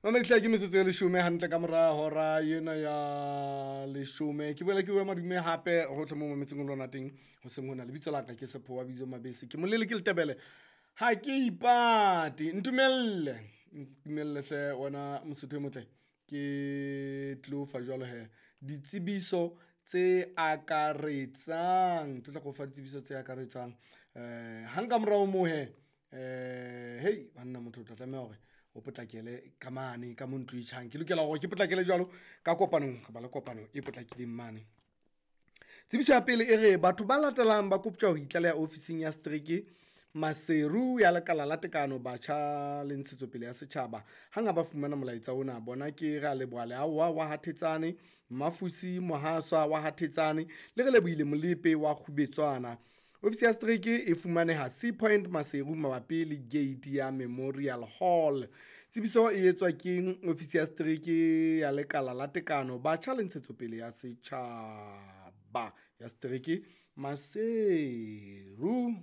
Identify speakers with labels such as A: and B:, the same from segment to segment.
A: Mamedi ke metsotso e leshome hantle ka mora hora ena ya leshome. Ke boela ke o madume hape hohle mo mametseng ho lona teng hoseng hona. Lebitso la ka ke Sepho wa bitso Mabese, ke molele ke Letebele ha ke ipate. Ntumelle, ntumelle hle wena Mosotho e motle, ke tlo fa jwalo hee ditsebiso tse akaretsang, ke tlo tla ke o fa ditsebiso tse akaretsang hang ka morao ho moo hee, hei banna motho o tla tlameha hore o potlakele ka mane ka mo ntlo e tjhang. Ke lokela hore ke potlakele jwalo ka kopanong, re ba le kopano e potlakileng mane. Tsebiso ya pele e re batho ba latelang ba koptjwa ho itlaleha ofising ya setereke Maseru ya Lekala la Tekano, Batjha le Ntshetsopele ya Setjhaba. Hang ha ba fumana molaetsa ona, bona ke Re a leboha Leawa wa ha Thetsane, Mafusi Mohaswa wa ha Thetsane le Relebohile Molepe wa Kgubetswana. Ofisi ya setereke e fumaneha Sea Point Maseru mabapi le gate ya Memorial Hall. Tsebiso e etswa ke ofisi ya setereke ya Lekala la Tekano, Batjha le Ntshetsopele ya Setjhaba ya setereke Maseru.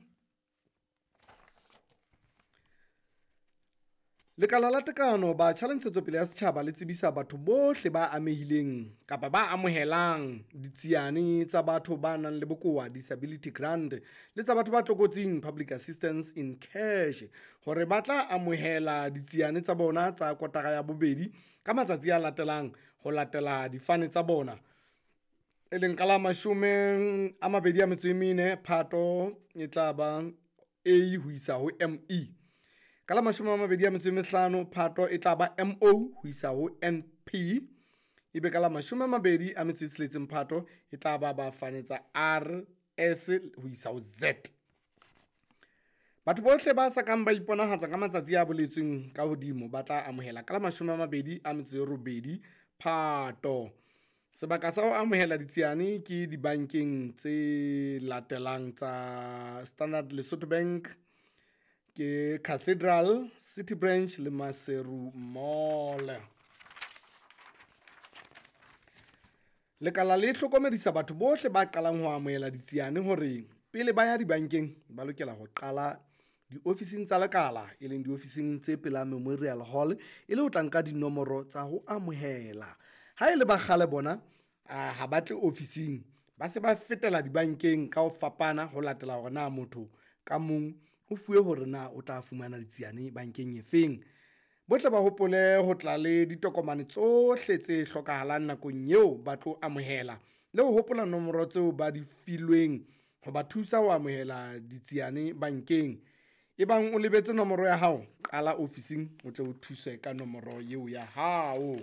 A: Lekala la Tekano, Batjha le Ntshetsopele ya Setjhaba le tsebisa batho bohle ba amehileng kapa ba amohelang ditsiane tsa batho ba nang le bokowa disability grant le tsa batho ba tlokotsing public assistance in cash hore ba tla amohela ditsiane tsa bona tsa kotara ya bobedi ka matsatsi a latelang ho latela difane tsa bona, e leng ka la 24 Phato e tla ba A ho isa ho ME, ka la 25 Phato e tla ba MO ho isa ho NP, ebe ka la 26 Phato e tla ba ba fane tsa R, S ho isa ho Z. Batho bohle ba sa kang ba iponahatsa ka matsatsi a boletsweng ka hodimo ba tla amohela ka la 28 Phato. Sebaka sa ho amohela ditsiane ke dibankeng tse latelang tsa Standard Lesotho Bank, ke Cathedral, City Branch le Maseru Mall. Lekala le hlokomedisa batho bohle ba qalang ho amohela ditsiane hore pele ba ya dibankeng ba lokela ho qala diofising tsa lekala, e leng diofising tse pela Memorial Hall, e le ho tla nka dinomoro tsa ho amohela. Ha e le ba kgale bona ha ba tle ofising, ba se ba fetela dibankeng ka ho fapana ho latela hore na motho ka mong o fuwe hore na o tla fumana ditsiane bankeng e feng. Bohle ba hopole ho tla le ditokomane tsohle tse hlokahalang nakong eo ba tlo amohela, le ho hopola nomoro tseo ba di filweng ho ba thusa ho amohela ditsiane bankeng. Ebang o lebetse nomoro ya hao, qala ofising o tle o thuswe ka nomoro eo ya hao.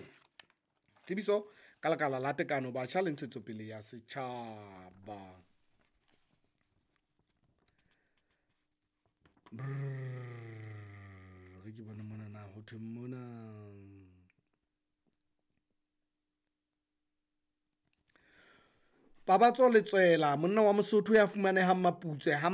A: Tsebiso ka Lekala la Tekano, Batjha le Ntshetsopele ya Setjhaba. Re ke bone mona na ho thweng mona. Pabatso Letswela, monna wa Mosotho ya fumanehang Maputswe ha